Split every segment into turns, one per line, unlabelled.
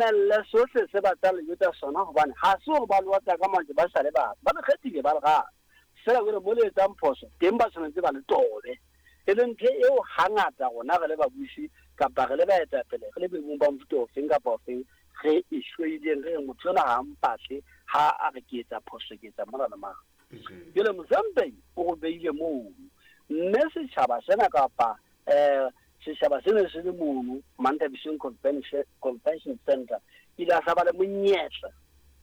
Mamelle sohle se ba tla le jwetsa sona, hobane ha se hore ba lewatla ka majwe ba sa le batho. Ba le kgethile, ba le rata. Feela jwale mo le etsang phoso teng ba tshwanetse ba le tobe. E leng ntho eo hangata rona re le babusi kapa re le baetapele, re le boemong ba mofuta ofeng kapa ofeng, re e hloileng, re reng motho enwa ha a mpatle ha a re ke etsa phoso, ke etsa mona le mane. Jwale Mohlomphehi o re beile mono, mme setjhaba sena kapa um setjhaba se ne se le mono Manthabiseng Convention, Convention Center, ile a sa ba le monyetla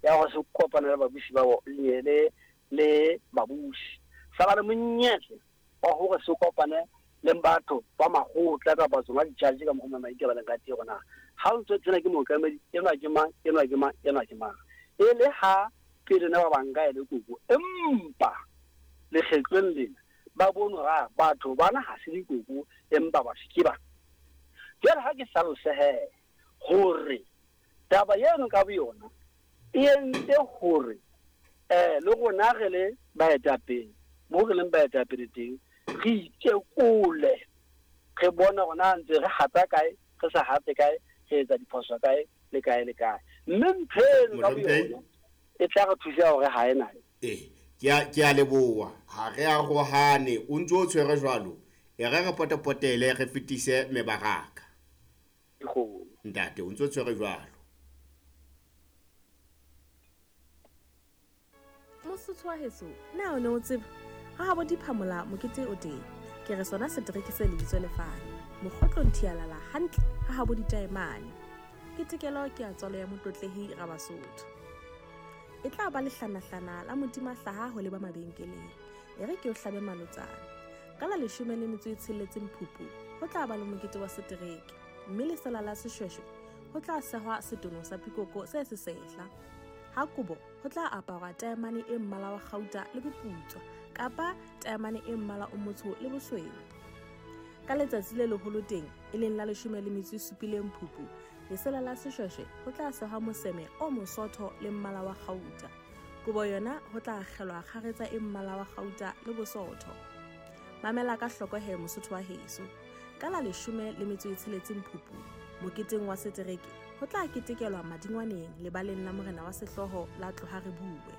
ya gore se kopane le babusi ba le le babusi, sa ba le monyetla wa gore se kopane le batho ba makgotla kapa tsona di-judge ka mokgwa maite ba leng ka teng gore na ha o ntse tsena ke mookamedi enwa ke mang, enwa ke mang, enwa ke mang, e le ha pele ne ba banka e le koko, empa lekgetlong lena ba bone hore a batho bana ha se dikoko empa batho ke ba. Jwale ha ke hlalose he hore taba eno ka boyona e entse hore um le rona re le baetapele mo re leng baetapele teng re itekole, re bone hore na ntse re hata kae, re sa hate kae, re etsa diphoso kae le kae le kae, mme ntho eno ka boyona e tla re thusa hore ha e na.
Ee, ke a, ke a leboha. Ha re arohane, o ntse o tshwere jwalo. E re re potepotele re fetise mebaraka.
Dikgomo.
Ntate, o ntse o tshwere jwalo.
Mosotho wa heso, na o ne o tseba? Ha habo diphamola mokete o teng. Ke re sona setereke se lebitso lefane. Mokgotlong thialala hantle ha habo ditaemane. Ketekelo ke ya tswalo ya motlotlehi Rabasotho. E tla ba lehlanahlana la modimahlaha ho leba mabenkeleng. E re ke o hlabe malotsana. Ka la 16 Phupu, ho tla ba le mokete wa setereke. Mme lesela la seshweshwe ho tla sehwa setono sa pikoko se sesehla. Ha kobo ho tla aparwa taemane e mmala wa kgauta le boputswa kapa taemane e mmala o motsho le bosweu. Ka letsatsi le leholo teng, e leng la 17 Phupu, lesela la seshweshwe ho tla sehwa moseme o mosotho le mmala wa kgauta. Kobo yona ho tla akgelwa kgaretsa e mmala wa kgauta le bosotho. Mamela ka hloko he Mosotho wa heso. Ka la 16 Phupu, moketeng wa setereke, ho tla ketekelwa Madingwaneng lebaleng la morena wa sehlooho la Tloha Re Bue.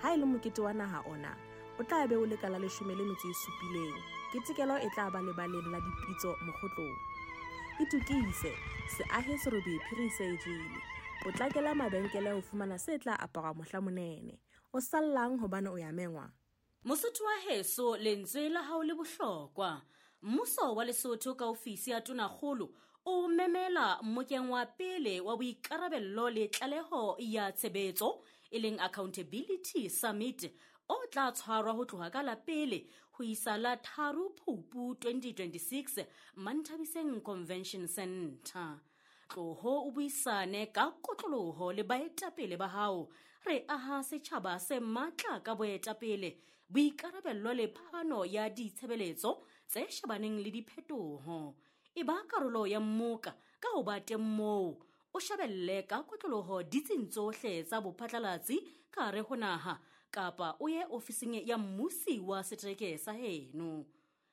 Ha e le mokete wa naha ona, o tla be o le ka la 17. Ketekelo e tla ba lebaleng la dipitso Mokgotlong. Itokise, se ahe serobe phiri se e jele. Potlakela mabenkele ho fumana se tla aparwa mohla monene. O sallang hobane o ya mengwa?
Mosotho wa heso, lentswe la hao le bohlokwa. Mmuso wa Lesotho ka ofisi ya Tonakgolo o memela mmokeng wa pele wa boikarabello le tlaleho ya tshebetso, e leng Accountability Summit, o tla tshwarwa ho tloha ka la pele ho isa la 3 Phupu 2026 Manthabiseng Convention Center. Tloho o buisane ka kotloloho le baetapele ba hao. Re aha setjhaba se matla ka boetapele, boikarabello le phano ya ditshebeletso tse shebaneng le diphetoho. E ba karolo ya mmoka ka ho ba teng moo, o shebelle ka kotloloho ditsing tsohle tsa bophatlalatsi ka hare ho naha kapa o ye ofising ya mmusi wa setereke sa heno.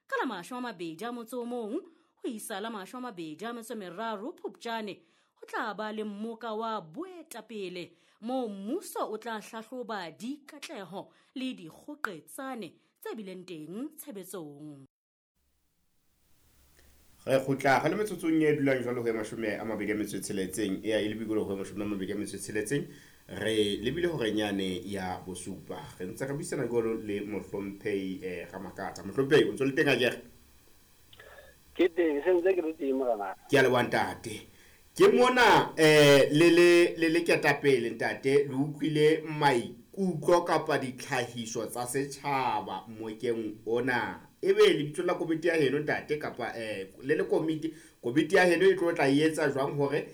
Ka la 21 ho isa la 23 Phupjane ho tla ba le mmoka wa boetapele moo mmuso o tla hlahloba dikatleho le dikgoqetsane tse bileng teng tshebetsong.
Re kgutla re le metsotsong e dulang jwalo ho ya 26 e ya e lebikolo ho ya 26, re lebile hore nyane ya bosupa. Re ntse re buisana jwalo le Mohlomphehi Ramakatsa. Mohlomphehi, o ntse le teng akere?
Ke teng, se ntse ke le teng morena.
Ke a leboha ntate. Ke mona le le le le ketapele ntate, le utlwile maikutlo kapa ditlhahiso tsa setjhaba mmokeng ona. Ebe lebitso la komiti ya heno ntate kapa le le komiti, komiti ya heno e tlo tla e etsa jwang hore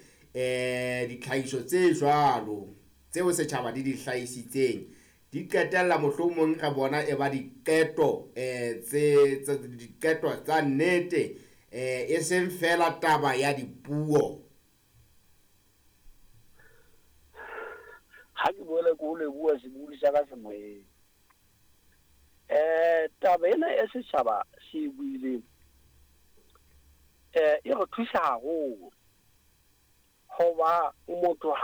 ditlhahiso tse jwalo tseo setjhaba di di hlahisitseng di qetella mohlomong re bona e ba diqeto tse diqeto tsa nnete e seng fela taba ya dipuo?
Ha ke boele ke o leboha sebui sa ka semoyeng. Taba ena e setjhaba se e buileng e re thusa haholo. Hoba motho